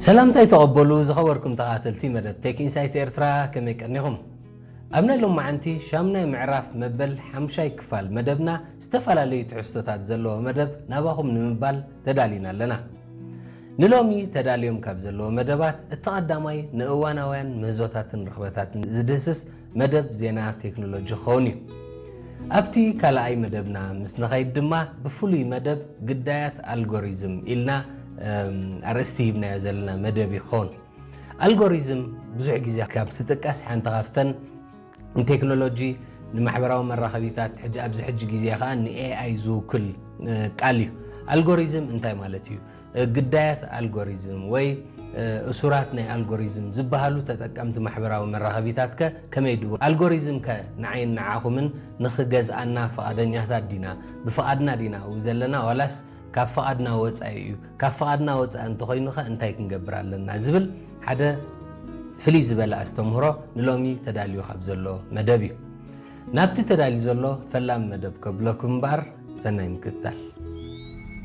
ሰላምታይ ተቐበሉ ዝኸበርኩም ተኸታተልቲ መደብ ቴክ ኢንሳይት ኤርትራ፣ ከመይ ቀኒኹም? ኣብ ናይ ሎማዓንቲ ሻምናይ ምዕራፍ መበል ሓምሻይ ክፋል መደብና ዝተፈላለዩ ትሕዝቶታት ዘለዎ መደብ ናባኹም ንምባል ተዳሊና ኣለና። ንሎሚ ተዳልዮም ካብ ዘለዎ መደባት እቲ ቀዳማይ ንእዋናውያን ምህዞታትን ርኽበታትን ዝድህስስ መደብ ዜና ቴክኖሎጂ ክኸውን እዩ። ኣብቲ ካልኣይ መደብና ምስ ንኸይድ ድማ ብፍሉይ መደብ ግዳያት ኣልጎሪዝም ኢልና ኣርእስቲ ሂብናዮ ዘለና መደብ ይኸውን። ኣልጎሪዝም ብዙሕ ግዜ ካብ ትጥቀስ ሓንቲ ካብተን ንቴክኖሎጂ ንማሕበራዊ መራኸቢታት ሕጂ ኣብዚ ሕጂ ግዜ ከዓ ንኤኣይ ዝውክል ቃል እዩ። ኣልጎሪዝም እንታይ ማለት እዩ? ግዳያት ኣልጎሪዝም ወይ እሱራት ናይ ኣልጎሪዝም ዝበሃሉ ተጠቀምቲ ማሕበራዊ መራኸቢታት ከ ከመይ ድዎ? ኣልጎሪዝም ከ ንዓይን ንዓኹምን ንኽገዝኣና ፍቓደኛታት ዲና? ብፍቓድና ዲና ኣብኡ ዘለና ዋላስ ካብ ፍቓድና ወፃኢ እዩ? ካብ ፍቓድና ወፃኢ እንተኾይኑ ከ እንታይ ክንገብር ኣለና? ዝብል ሓደ ፍልይ ዝበለ ኣስተምህሮ ንሎሚ ተዳልዩ ካብ ዘሎ መደብ እዩ። ናብቲ ተዳልዩ ዘሎ ፈላም መደብ ከብለኩም እምበኣር ሰናይ ምክትታል።